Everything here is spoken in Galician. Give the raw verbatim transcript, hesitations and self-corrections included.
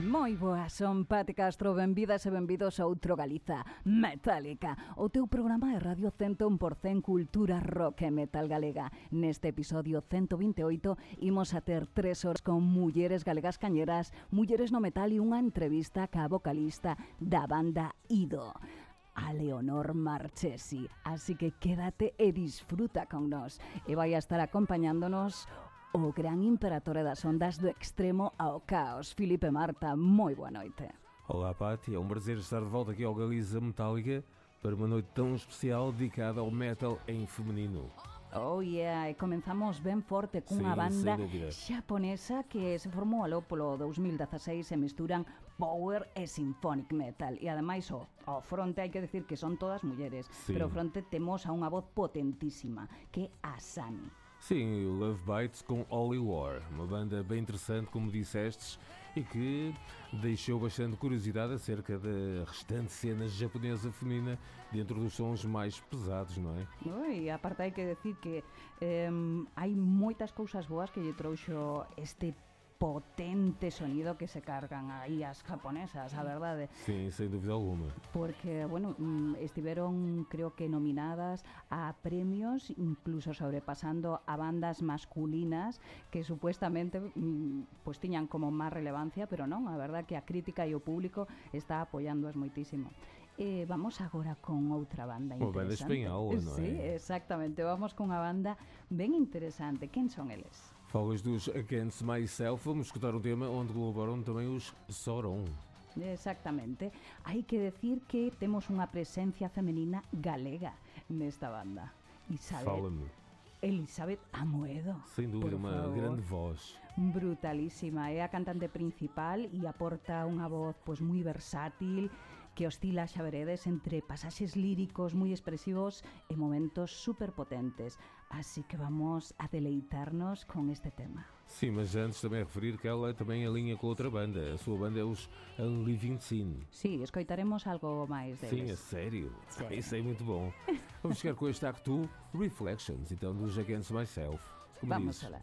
Moi boas, son Pati Castro, benvidas e benvidos a outro Galiza Metálica, o teu programa de radio cen por cen cultura rock e metal galega. Neste episodio ciento vinte e oito imos a ter tres horas con mulleres galegas cañeras, mulleres no metal e unha entrevista ca vocalista da banda Ido, a Leonor Marchesi. Así que quédate e disfruta con nós. E vai a estar acompañándonos o gran imperatore das ondas do extremo ao caos, Filipe Marta. Moi boa noite. Olá, Pati, é um prazer estar de volta aqui ao Galiza Metálica para uma noite tão especial dedicada ao metal em feminino. Oh yeah, e comenzamos ben forte cunha Sí, banda xaponesa que se formou aló polo dos mil dezaseis e misturan power e symphonic metal. E ademais, o, ao fronte hai que decir que son todas mulleres, Sí. pero ao fronte temos a unha voz potentísima, que é a Sani. Sim, o Love Bites com Holy War, uma banda bem interessante, como dissestes, e que deixou bastante curiosidade acerca da restante cena japonesa feminina dentro dos sons mais pesados, não é? E aparte hai que decir que eh, hai moitas cousas boas que lle trouxo este potente sonido que se cargan aí as japonesas, a verdade. Sim, sem dúvida alguma. Porque, bueno, estiveron, creo que, nominadas a premios, incluso sobrepasando a bandas masculinas que supuestamente pues tiñan como máis relevancia, pero non, a verdad que a crítica e o público está apoiándoas moitísimo. Eh, vamos agora con outra banda interesante. Uma banda espanhola, non é? Sí, exactamente, vamos con unha banda ben interesante. Quen son eles? Falas dos Against Myself, vamos escutar um tema onde colaboram também os Sauron. Exactamente. Hai que decir que temos unha presencia femenina galega nesta banda. Isabel. Fala-me. Elizabeth Amoedo. Sem dúvida, por uma favor. grande voz. Brutalísima. É a cantante principal e aporta unha voz pois moi versátil, que oscila, xa veredes, entre pasaxes líricos moi expresivos e momentos superpotentes. Así que vamos a deleitarnos con este tema. Sim, mas antes também referir que ela também alinha com outra banda. A sua banda é os Unliving Sin. Sí, escoitaremos algo máis Sim, deles. é sério. Sim. Ah, isso é muito bom. Vamos chegar com este acto Reflections, então, dos Against Myself. Como Vamos dizes. a lá.